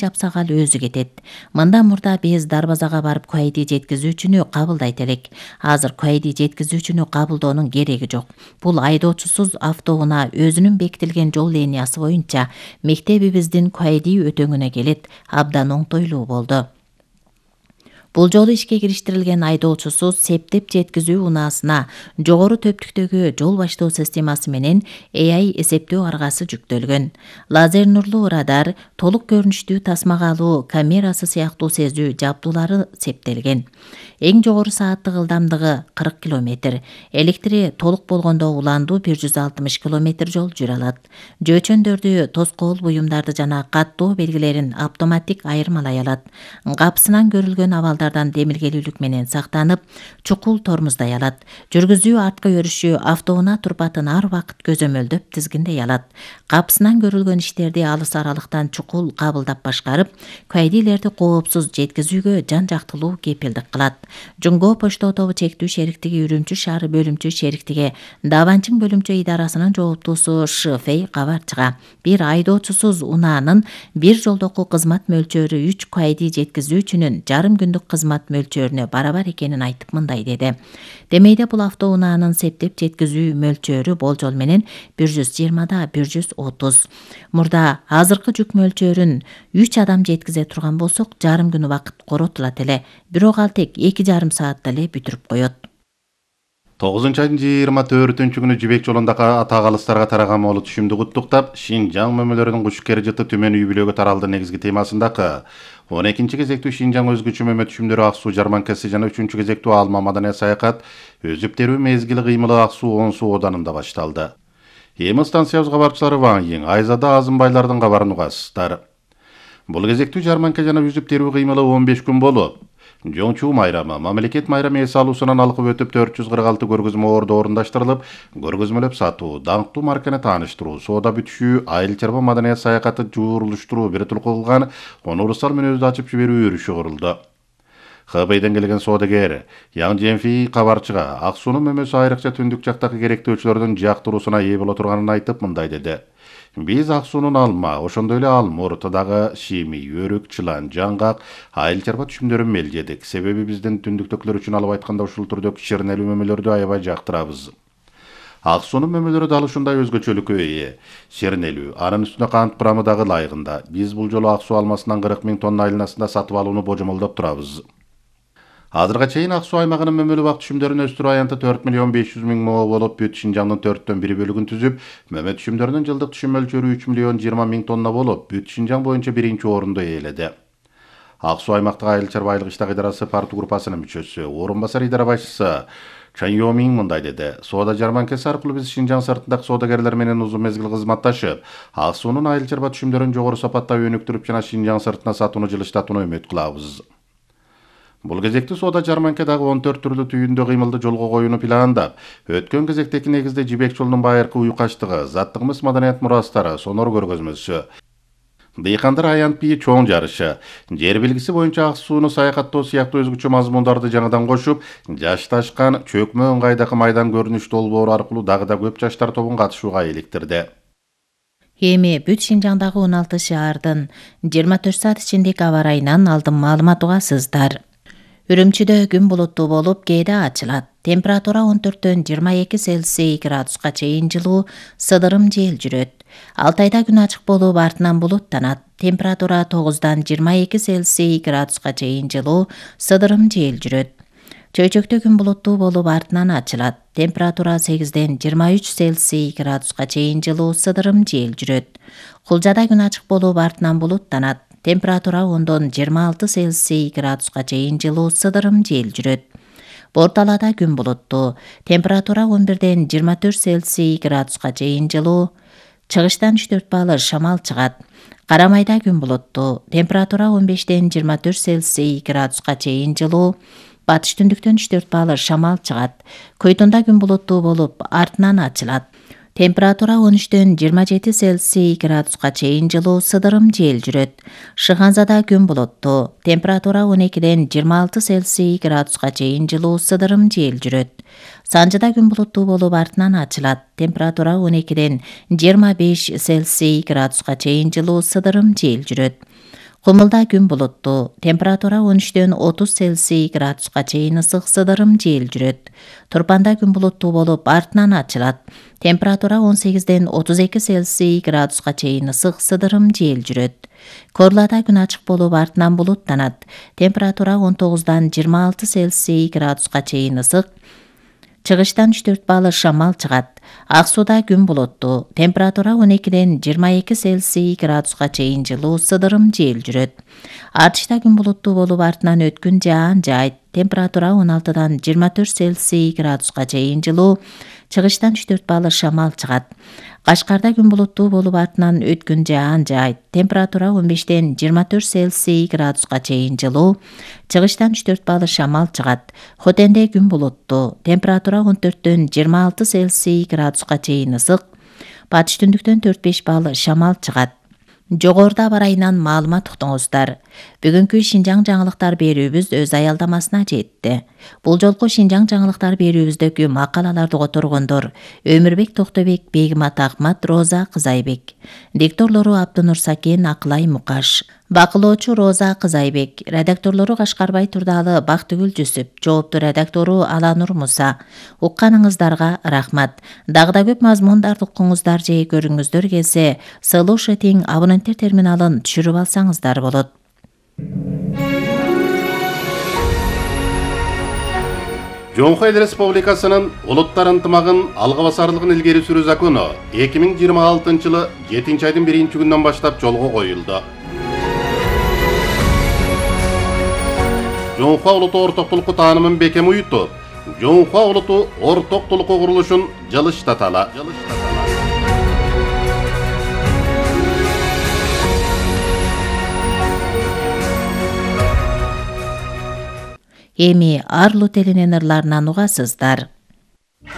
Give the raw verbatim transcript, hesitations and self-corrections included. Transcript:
жапсак ал өзү кетет. Мындан мурда биз дарбазага барып куайди жеткизүүчүнү кабылдайт элек. Азыр куайди жеткизүүчүнү кабылдоонун кереги жок. Бул айдоочусуз автоунаа өзүнүн бекитилген жол линиясы боюнча мектебибиздин куайди өтөңүнө келет. Абдан оңтойлуу болду. Бул жолу ишке кириштирилген айдоочусуз септеп жеткизүү унаасына жогору төптүктөгү жол баштоо системасы менен A I эсептөө аргасы жүктөлгөн. Лазер нурлуу радар, толук көрүнүштүү тасмага алуу камерасы сыяктуу сезүү жабдуулары септелген. Эң жогору сааттык ылдамдыгы кырк километр. Электри толук болгондо уландуу бир жүз алтымыш километр жол жүрө алат. Жөөчөндөрдү, тоскоол буюмдарды жана каттоо белгилерин автоматтик айырмалай алат. Капсынан көрүлгөн абалдардан демилгелүүлүк менен сактанып, чукул тормуздай алат. Жүргүзүү арткы өрүшү автоунаа турпатын ар убакыт көзөмөлдөп тизгиндей алат. Капсынан көрүлгөн иштерди алыс аралыктан чукул кабылдап башкарып, куайдилерди коопсуз жеткизүүгө жан жактылуу кепилдик кылат. Жунго почтоо тобу чектүү шериктиги Үрүмчү шаары бөлүмчө шериктиги Даванчың бөлүмчө идарасынын жооптуусу Шфей кабарчыга бир айдоочусуз унаанын бир жолдоку кызмат мөлчөрү үч куайди жеткизүүчүнүн жарым күндүк кызмат мөлчөрүнө барабар экенин айтып мындай деди. Демейде бул автоунаанын септеп жеткизүү мөлчөрү болжол менен бир жүз жыйырмада бир жүз отуз. Мурда азыркы жүк мөлчөрүн үч адам жеткизе турган болсок, жарым күн убакыт коротулат эле. Бирок ал тек эки жарым саатта эле бүтүрүп коет. тогузунчу айдын жыйырма төртүнчү күнү Жибек жолундагы ата калыстарга тараган молу түшүмдү куттуктап, Шинжаң мөмөлөрүнүн кушкер жыты түмөн үй бүлөгө таралды негизги темасындагы он экинчи кезектүү Шинжаң өзгөчө мөмө түшүмдөрү ак суу жарманкасы жана үчүнчү кезектүү алма маданий саякат өзүп терүү мезгили кыймылы ак суу он суу оданында башталды. Эми станциябыз кабарчылары Ван Йиң, Айзада Азымбайлардын кабарын угасыздар. Бул кезектүү жарманка жана үзүп терүү кыймылы он беш күн болуп, Жоңчу майрамы, мамлекет майрамы эс алуусунан алкып өтүп төрт жүз кырк алты көргөзмө ордо орундаштырылып, көргөзмөлөп сатуу, даңктуу марканы тааныштыруу, соода бүтүшүү, айыл чарба маданият саякаты жуурулуштуруу бир тулку кылган онурсал мүнөздү ачып жиберүү өрүшү курулду. Хыбайдан келген соодагер Яң Жемфи кабарчыга ак суунун мөмөсү айрыкча түндүк жактагы керектөөчүлөрдүн жактыруусуна ээ боло турганын айтып мындай деди. Биз ак суунун алма, ошондой эле алмур, тыдагы шими, өрүк, чылан, жаңгак, айыл чарба түшүмдөрүн мелжедик. Себеби биздин түндүктөкүлөр үчүн алып айтканда ушул түрдөгү ширнелүү мөмөлөрдү аябай жактырабыз. Ак суунун мөмөлөрү дал ушундай өзгөчөлүккө ээ. Ширнелүү, анын үстүнө кант бурамы дагы ылайыгында. Биз бул жолу ак суу алмасынан кырк миң тонна айланасында сатып алууну божомолдоп турабыз. Азырга чейин ак суу аймагынын мөмөлүү бак түшүмдөрүн өстүрүү аянты төрт миллион беш жүз миң мо болуп, бүт Шинжаңдын төрттөн бири бөлүгүн түзүп, мөмө түшүмдөрүнүн жылдык түшүм мөлчөрү үч миллион жыйырма миң тонна болуп, бүт Шинжаң боюнча биринчи орунду ээледи. Ак суу аймактагы айыл чарба айылык иштак идарасы Парту группасынын мүчөсү, орун басар идара башчысы Чан Йомиң мындай деди. Соода жарманкасы аркылуу биз Шинжаң сыртындагы соодагерлер менен узун мезгил кызматташып, ак суунун айыл чарба түшүмдөрүн жогору сапатта өнүктүрүп жана Шинжаң сыртына сатууну жылыштатууну үмүт кылабыз. Бул кезекте соода жарманкадагы он төрт түрлүү түйүндө кыймылды жолго коюуну пландап, өткөн кезектеки негизде Жибек жолунун байыркы уюкачтыгы, заттыгыбыз маданият мурастары, сонор көргөзмөсү, дыйкандар аянт бийи чоң жарышы, жер белгиси боюнча ак сууну саякаттоо сыяктуу өзгөчө мазмундарды жаңыдан кошуп, жашташкан чөкмө ыңгайдагы майдан көрүнүш долбоору аркылуу дагы да көп жаштар тобун катышууга иликтирди. Эми бүт Шинжаңдагы он алты шаардын жыйырма төрт саат ичиндеги аба ырайынан алдын маалымат угасыздар. Үрүмчүдө күн булуттуу болуп, кээде ачылат. Температура он төрттөн жыйырма эки Цельсий градуска чейин жылуу, сыдырым жел жүрөт. Алтайда күн ачык болуп, артынан булуттанат. Температура тогуздан жыйырма эки Цельсий градуска чейин жылуу, сыдырым жел жүрөт. Чөйчөктө күн булуттуу болуп, артынан ачылат. Температура сегизден жыйырма үч Цельсий градуска чейин жылуу, сыдырым жел жүрөт. Кулжада күн ачык болуп, артынан булуттанат. Температура ондон жыйырма алты Цельсий градуска чейин жылуу, сыдырым жел жүрөт. Борталада күн булуттуу. Температура он бирден жыйырма төрт Цельсий градуска чейин жылуу. Чыгыштан үч төрт баалы шамал чыгат. Карамайда күн булуттуу. Температура он бештен жыйырма төрт Цельсий градуска чейин жылуу. Батыш түндүктөн үч төрт баалы шамал чыгат. Көйтүндө күн булуттуу болуп, артынан ачылат. Температура он үчтөн жыйырма жети Цельсий градуска чейин жылуу, сыдырым жел жүрөт. Шыханзада күн булуттуу. Температура он экиден жыйырма алты Цельсий градуска чейин жылуу, сыдырым жел жүрөт. Санжыда күн булуттуу болуп, артынан ачылат. Температура он экиден жыйырма беш Цельсий градуска чейин жылуу, сыдырым жел жүрөт. Кумулда күн булуттуу, температура он үчтөн отуз Цельсий градуска чейин ысык сыдырым жел жүрөт. Турпанда күн булуттуу болуп, артынан ачылат. Температура он сегизден отуз эки Цельсий градуска чейин ысык сыдырым жел жүрөт. Корлада күн ачык болуп, артынан булуттанат. Температура он тогуздан жыйырма алты Цельсий градуска чейин ысык. Чыгыштан үч төрт балл шамал чыгат. Ак сууда күн булуттуу. Температура он экиден жыйырма эки Цельсий градуска чейин жылуу сыдырым жел жүрөт. Артышта күн булуттуу болуп, артынан өткүн жаан жаайт. Температура он алтыдан жыйырма төрт Цельсий градуска чейин жылуу. Чыгыштан үч төрт балл шамал чыгат. Кашкарда күн булуттуу болуп, артынан өткүн жаан жаайт. Температура он бештен жыйырма төрт Цельсий градуска чейин жылуу. Чыгыштан үч төрт балл шамал чыгат. Хотенде күн булуттуу. Температура он төрттөн жыйырма алты Цельсий градуска чейин ысык. Батыш түндүктөн төрт беш балл шамал чыгат. Жогоруда бар айынан маалымат уктуңуздар. Бүгүнкү Шинжаң жаңылыктар берүүбүз өз аялдамасына жетти. Бул жолку Шинжаң жаңылыктар берүүбүздөгү макалаларды которгондор Өмүрбек Токтобек, Бегимат Акмат, Роза Кызайбек. Дикторлору Абдынур Сакен, Акылай Мукаш. Бакылоочу Роза Кызайбек. Редакторлору Кашкарбай Турдалы, Бактыгүл Жүсүп. Жоопту редактору Аланур Муса. Укканыңыздарга рахмат. Дагы да көп мазмундарды укуңуздар же көрүңүздөр келсе, Слушатиң абоненттер терминалын түшүрүп алсаңыздар болот. Жоңхо Эл Республикасынын улуттар ынтымагын алга басарлыгын илгери сүрүү закону эки миң жыйырма алтынчы жылы жетинчи айдын биринчи күнүнөн баштап жолго коюлду. Жоңхо улуту ортоктулукку таанымын бекем уютуп, Жоңхо улуту ортоктулукку курулушун жылыштатала. Эми Арлу телинен ырларынан угасыздар.